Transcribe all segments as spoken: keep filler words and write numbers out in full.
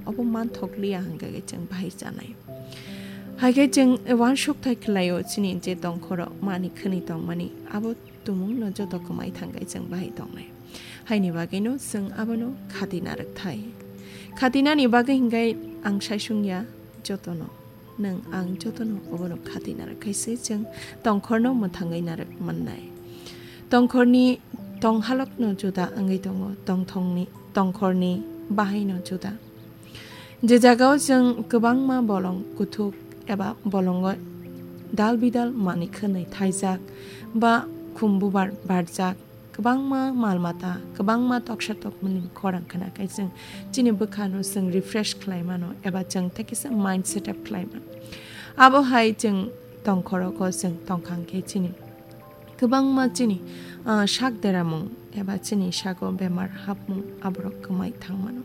obo manthokliya hwnkhe chwng bahai chanai. Haikhe chwng uansukthai khlaio chini je tongkhoro mani khwnwi tongmani, abo tumungno joto kwmai thangkhe chwng bahai tongnai. Haini bagwino chwng abono khatina rwkthai. Khatinani bagwi hwnkhe ang saisung ya jotono, nwng ang jotono obono khatina rwkhaise chwng tongkhorno mwthangwi narwk mannai. Tongkhorni tonghalokno juda wngwi tongo, tongthongni, tongkhorni bahaino juda. Je jagao chwng kwbangma bolong kuthuk eba bolongo dal bidal mani khwnwi thaijak ba khum bubar barjak, kwbangma mal mata, kwbangma toksa tokmani khorang khna khe chwng chini bwkhano chwng refresh khlai mano eba chwng tei kisa mind setup khlai mano. Abo hai chwng tongkhorogo chwng tongkhang khe chini kwbangma chini, ah, sak deramung eba chini sago bemar hapmung aborok kwmai thang mano.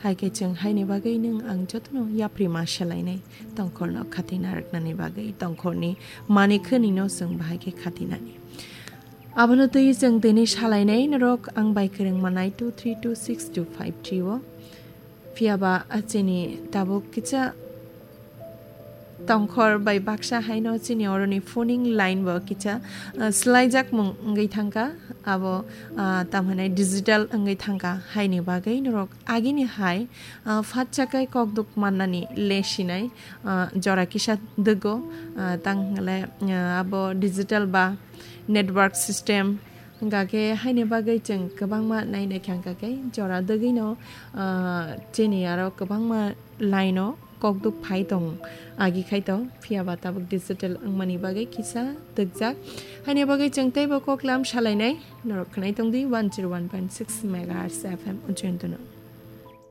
Hai khe chwng haini bagwi nwng ang jotono yapri ma selainai tongkhorno khatina rwknani bagwi, tongkhorni mani khwnwino chwng bahai khe khatinani. Abono twi chwng tini salainai norok ang bai kwrwng manai two three two six two five three o. Phiya ba, ah, chini tabuk kisa tongkhor bai baksa haino chini oroni phoning line bo kisa, ah, swlaijak mung wngwi thangkha. Abo, ah, tamo hwnwi digital wngwi thangkha. Haini bagwi norok agini hai, ah, phatsa kai kokduk mannani le sinai, ah, jora kisa dwgo, ah, tang hwnle, ah, abo digital ba network system hwnkha khe haini bagwi chwng kwbangma naina khe hwnkha khe jora dwgwino, ah, chini aro kwbangma line o kokduk phai tong agi khai to, phiya ba tabuk digital wngmani bagwi kisa dwkjak. Haini bagwi chwng teibo koklam salainai, norok khwnai tongdi one zero one point six megahertz F M Ujjayantano.